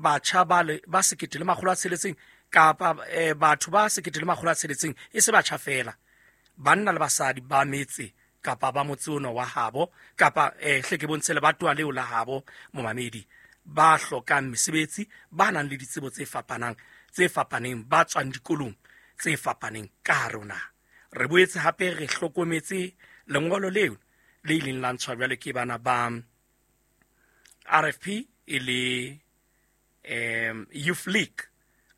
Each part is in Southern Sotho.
Batjha ba le ba 1600 kapa batho ba 1600, e se batjha fela, banna le basadi ba metse kapa ba motse ono wa habo kapa hle ke bontshe lebatowa leo la habo momamedi, ba hlokang mesebetsi, ba nang le ditsebo tse fapanang tse fapaneng, ba tswang dikolong tse fapaneng ka hare ho naha. Re boetse hape re hlokometse lengolo leo le ileng la ntshwa jwale ke bana ba RFP e le Youth League,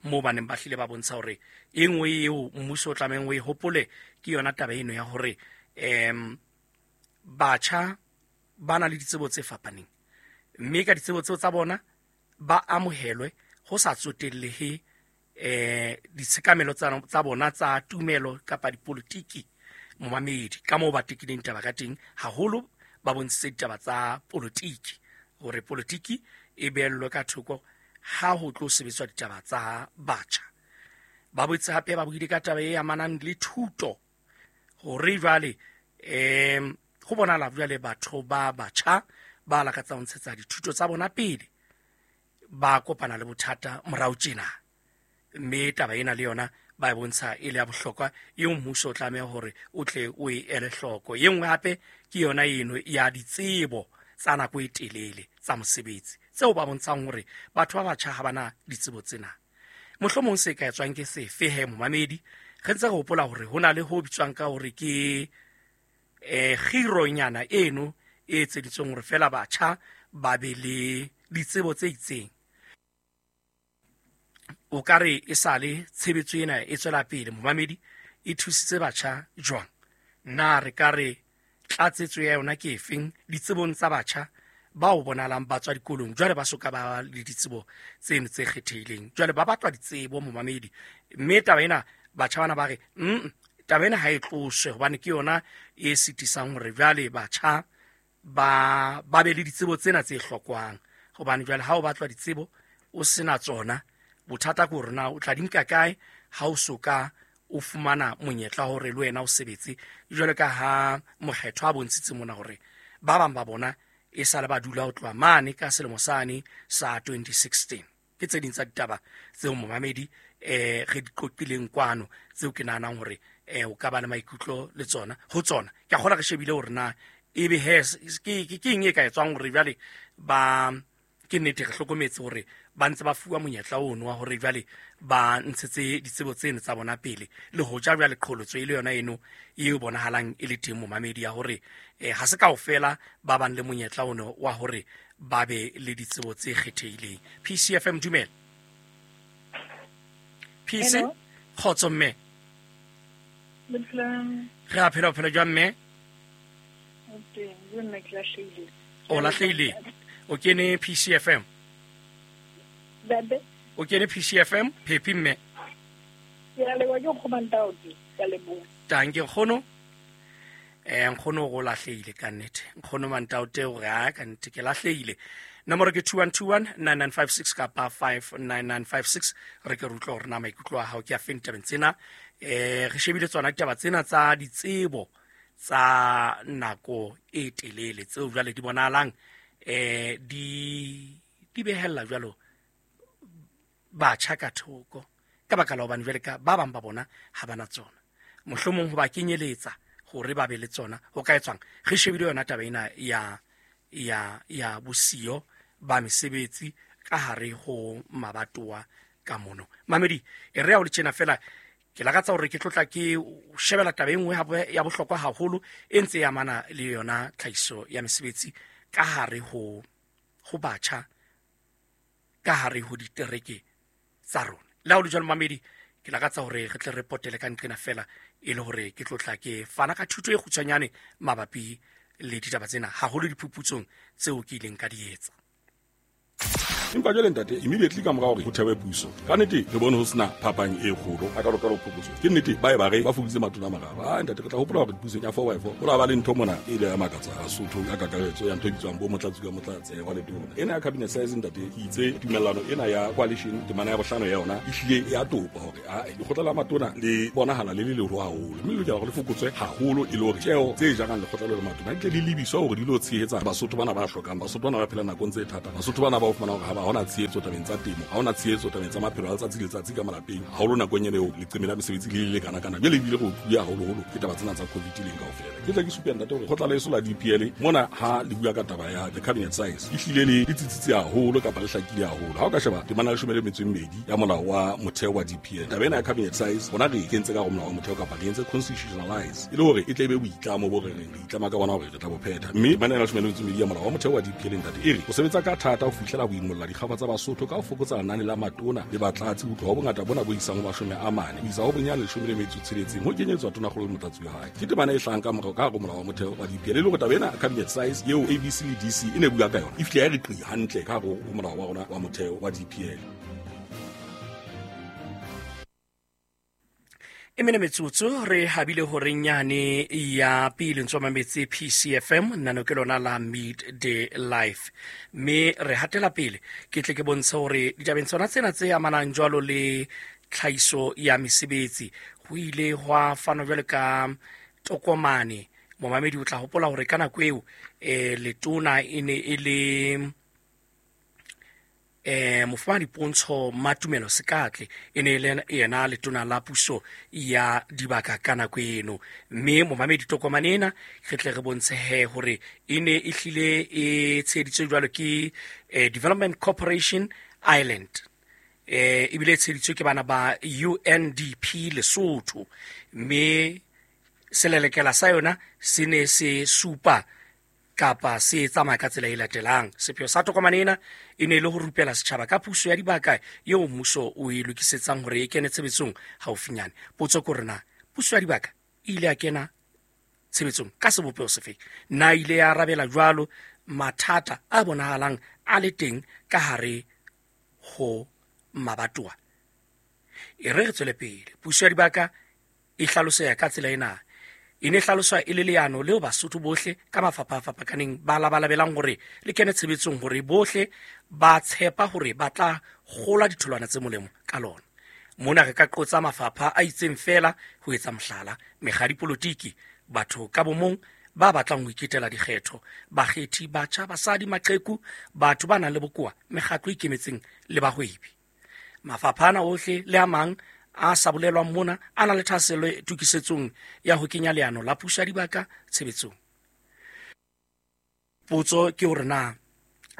moo ba neng ba hlile ba bontsha hore e nngwe eo mmuso o tlamehang o e hopole ke yona taba eno ya hore batjha ba na le ditsebo tse fapaneng, mme ka ditsebo tseo tsa bona ba amohelwe ho sa tsotellehe ditshekamelo tsa bona tsa tumelo kapa dipolitiki. Momamedi, ka moo ba tekileng taba ka teng, haholo ba bontshitse ditaba tsa politiki, hore politiki e beellwe ka thoko ha ho tlo sebetswa ditaba tsa batjha. Ba boetse hape ba buile ka taba e amanang le thuto, hore jwale ho bonahala jwale batho ba batjha ba lakatsang ho ntshetsa dithuto tsa bona pele ba kopana le bothata morao tjena, mme taba ena le yona ba e bontsha e le ya bohlokwa eo mmuso o tlameha hore o tle o e ele hloko. E nngwe hape ke yona eno ya ditsebo tsa nako e telele tsa mosebetsi, tseo ba bontshang hore batho ba batjha ha bana ditsebo tsena. Mohlomong se ka etswang ke sefe he momamedi? Re ntse re hopola hore ho na le ho bitswang ka hore ke kgironyana eno e etseditsweng hore fela batjha ba be le ditsebo tse itseng. O ka re e sale tshebetso ena e tswela pele momamedi, e thusitse batjha jwang? Na re ka re tlatsetso ya yona ke efeng ditsebong tsa batjha bao bonahalang ba tswa dikolong jwale ba soka ba le ditsebo tseno tse kgethehileng, jwale ba batlwa ditsebo momamedi? Mme taba ena batjha bana ba re taba ena ha e tloswe, hobane ke yona e sitisang hore jwale batjha ba be le ditsebo tsena tse hlokwang, hobane jwale ha o batlwa ditsebo o sena tsona, bothata ke hore na o tla di nka kae ha o soka o fumana monyetla hore le wena o sebetse, jwale ka ha mokgetho a bontshitse mona hore ba bang ba bona e sale ba dula ho tloha mane ka selemo sane sa 2016. Ke tse ding tsa ditaba tseo momamedi re di qoqileng kwano, tseo ke nahanang hore o ka ba le maikutlo le tsona ho tsona. Ke a kgolwa re shebile hore na ebe he ke eng e ka etswang hore jwale ba ke nnete re hlokometse hore ba ntse ba fuwa monyetla ono wa hore jwale ba ntshetse ditsebo tseno tsa bona pele, le hoja jwale qholotso e le yona eno e bonahalang e le teng momamedi ya hore ha se kaofela ba bang le monyetla ono wa hore ba be le ditsebo tse kgethehileng. PCFM, dumela. PC, kgotso mme. Re a phela, o phela jwang mme? O lahlehile. O kene PCFM. O kene PCFM, phephi mme. Tanke nkgono. Nkgono go lahlehile ka nnete. Nkgono Mantaote o re a ka nnete ke lahlehile. Nomoro ke 2121 9956 kapa 59956. Re ke re utlwe hore na maikutlo a hao ke a feng tabeng tsena. Re shebile tsona ditaba tsena tsa ditsebo tsa nako e telele tseo jwale di bonahalang di behella jwalo batjha ka thoko, ka baka la hobane jwale ka ba bang ba bona ha bana tsona, mohlomong ho ba kenyeletsa hore ba be le tsona ho ka etswang. Re shebile yona taba ena ya bosiyo ba mesebetsi ka hare ho mabatowa ka mono. Mamedi, e re ya ho le tjena fela, ke lakatsa hore ke tlotla ke shebela taba e nngwe hape ya bohlokwa haholo e ntse e amana le yona tlhahiso ya mesebetsi ka hare ho batjha ka hare ho ditereke tsa rona. Le ha ho le jwalo mamedi, ke lakatsa hore re tle re potele ka nqena fela e le hore ke tlotla ke fana ka thuto e kgutshwanyane mabapi le ditaba tsena, haholo diphuputsong tseo ke ileng ka di etsa. Empa jwale ntate, immediately ka mora hore ho thewe puso, ka nnete re bone ho sena phapang e kgolo a ka phokotso. Ke nnete ba e ba re ba fokoditse matona a mararo. Ah ntate, re tla hopola hore pusong ya 4x4 ho la ba le ntho mona e ile ya makatsa Basotho ka kakaretso ya ntho e bitswang bo motlatsi ka motlatse wa letona. Ena ya cabinet size ntate, ke itse tumellano ena ya coalition temana ya bohlano ya yona e hlile ya topa hore a lekgotla la matona le bonahala le le leholo haholo, mme le lokela hore le fokotswe haholo e le hore tjeo tse jarang lekgotla le matona di tle di lebiswa hore di lo tshehetsa Basotho bana ba hlokang, Basotho bana ba phelang nakong tse thata, Basotho bana ba o fumana hore ha setjhaba, ha hona tshehetso tabeng tsa temo, ha hona tshehetso tabeng tsa maphelo a letsatsi le letsatsi ka malapeng, haholo nakong ena eo leqeme la mesebetsi le le kana-kana. Jwale ebile re otluwe haholoholo ke taba tsena tsa COVID leng kaofela. Ke tle ke supe, ntate, hore kgotla leso la DPL mona ha le bua ka taba ya the cabinet size, ehlile le tsitsitse haholo kapa le hlakile haholo. Ha o ka sheba temana 12 ya molao wa motheo wa DPL, taba ena ya cabinet size rona re e kentse ka hare molao wa motheo kapa re entse constitutionalize, e le hore e tle e be boitlamo bo re reng re itlama ka bona hore re tla bo phetha. Mme temana ena 12 ya molao wa motheo wa DPL, ntate, e re o sebetsa ka thata ho fihlela ho imolla dikgafa tsa Basotho ka ho fokotsa lenane la matona le batlatsi ho tloha ho bongata bona bo isang ho 40 ho isa ho bonyane 16 ho kenyetswa tonakgolo le motlatsi wa hae. Ke temana e hlahang ka morao ka hare ho molao wa motheo wa DPL, e le hore taba ena cabinet size eo ABC le DC e ne bua ka yona e fihle ya re qi hantle ka hare ho molao wa rona wa motheo wa DPL. E mene metsotso re habile horeng yane ya pele, ntse mametse PCFM, nano ke lona la Midday Life, mme re hatela pele. Ke tle ke bontshe hore ditabeng tsona tsena tse amanang jwalo le tlhahiso ya mesebetsi, ho ile hwa fanwa jwalo ka tokomane. Momamedi, o tla hopola hore ka nako eo letona e ne e le mofumahadi Pontsho Matumelo Sekatle, e ne e le yena letona la puso ya dibaka ka nako eno. Mme momamedi, tokomane ena re tle re bontshe he hore e ne e hlile e tsheheditswe jwalo ke Development Corporation Ireland, ebile e tsheheditswe ke bana ba UNDP Lesotho, mme selelekela sa yona se ne se supa kapa se tsamaya ka tsela e latelang. Sepheo sa tokomane ena e ne e le ho rupela setjhaba ka puso ya dibaka eo mmuso o e lokisetsang hore e kene tshebetsong haufinyane. Potso ke hore na puso ya dibaka e ile ya kena tshebetsong ka sebopeho sefe? Na ile ya arabela jwalo mathata a bonahalang a le teng ka hare ho mabatowa? E re re tswele pele. Puso ya dibaka e hlaloseha ka tsela ena. E ne hlaloswa e le leano leo Basotho bohle ka mafapha a fapakaneng ba labalabelang hore le kene tshebetsong, hore bohle ba tshepa hore ba tla kgola ditholwana tse molemo ka lona. Mona re ka qotsa mafapha a itseng feela ho etsa mohlala: mekga ya dipolotiki, batho ka bomong ba batlang ho iketela dikgetho, bakgethi, batjha, basadi, maqheku, batho ba nang le bokowa, mekgatlo e ikemetseng le bahwebi. Mafapha ana ohle le a mang a sa bolelwang mona a na le thahasello tokisetsong ya ho kenya leano la puso ya dibaka tshebetsong. Potso ke hore na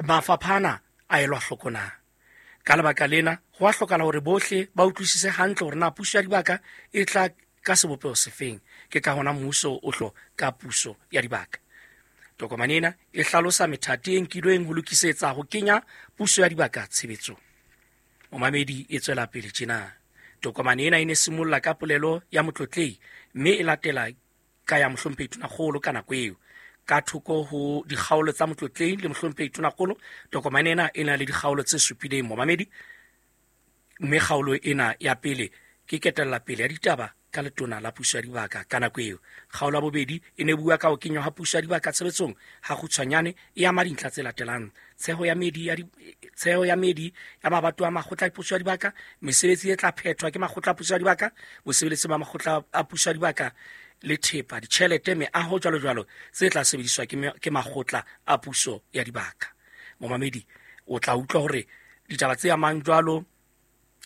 mafapha ana a elwa hloko na? Ka lebaka lena ho a hlokahala hore bohle ba utlwisise hantle hore na puso ya dibaka e tla ka sebopeho sefeng. Ke ka hona mmuso o hlo ka puso ya dibaka. Tokomane ena e hlalosa methati e nkilweng ho lokisetsa ho kenya puso ya dibaka tshebetsong. Momamedi, e tswela pele tjena. Tokomane ena e ne simolla ka polelo ya motlotlehi, mme e latela ka ya mohlomphehi tonakgolo ka nako eo. Ka thoko ho dikgaolo tsa motlotlehi le mohlomphehi tonakgolo, tokomane ena e na le dikgaolo tse supileng, momamedi, mme kgaolo ena ya pele ke ketella pele ya ditaba ka letona la puso ya dibaka ka nako eo. Kgaolo ya bobedi e ne bua ka ho kenywa ha puso ya dibaka tshebetsong ha kgutshwanyane, e ama dintlha tse latelang: tsheho ya meedi ya tsheho ya meedi ya mabatowa a makgotla a puso ya dibaka, mesebetsi e tla phethwa ke makgotla a puso ya dibaka, bosebeletsi ba makgotla a puso ya dibaka le thepa, ditjhelete, meaho, jwalo jwalo tse tla sebediswa ke makgotla a puso ya dibaka. Momamedi, o tla utlwa hore ditaba tse amang jwalo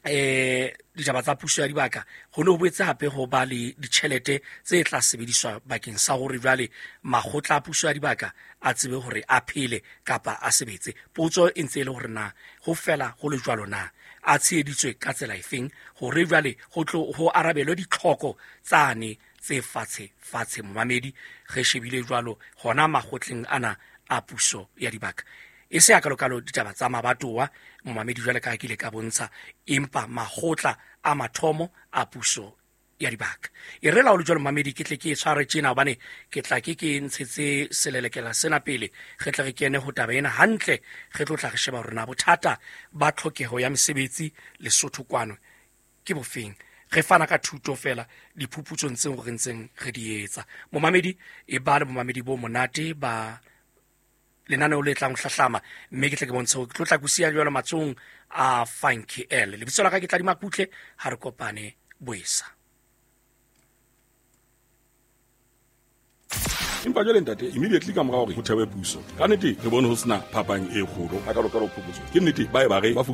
ditaba tsa puso ya dibaka, ho ne ho boetse hape ho ba le ditjhelete tse tla sebediswa bakeng sa hore jwale makgotla a puso ya dibaka a tsebe hore a phele kapa a sebetse. Potso e ntse e le hore na ho fela ho le jwalo na a tsheheditswe ka tsela efeng hore jwale ho tlo ho arabelwe ditlhoko tsane tse fatshe fatshe? Momamedi, re shebile jwalo hona makgotleng ana a puso ya dibaka, e se hakalokalo ditaba tsa mabatowa, momamedi, jwale ka ke ile ka bontsha, empa makgotla a mathomo a puso ya dibaka. E re la ho le jwalo, momamedi, ke tle ke e tshware tjena, hobane ke tla ke ntshetse selelekela sena pele re tle re kene ho taba ena hantle. Re tlo tla re sheba hore na bothata ba tlhokeho ya mesebetsi Lesotho kwano ke bofeng, re fana ka thuto fela diphuputsong tseo re ntseng re di etsa. Momamedi, e ba le momamedi bo monate ba lenaneo le tlang ho hlahlama, mme ke tle ke bontshe hore ke tlo tla kusiya jwalo matsohong a Funky L. Lebitso la ka ke Tladi Makutle. Ha re kopane boesa. Empa jwale, ntate, immediately ka mora hore ho thewe puso, ka nnete re bone ho sena phapang e kgolo hakalo-kalo phokotso. Ke nnete ba e ba re ba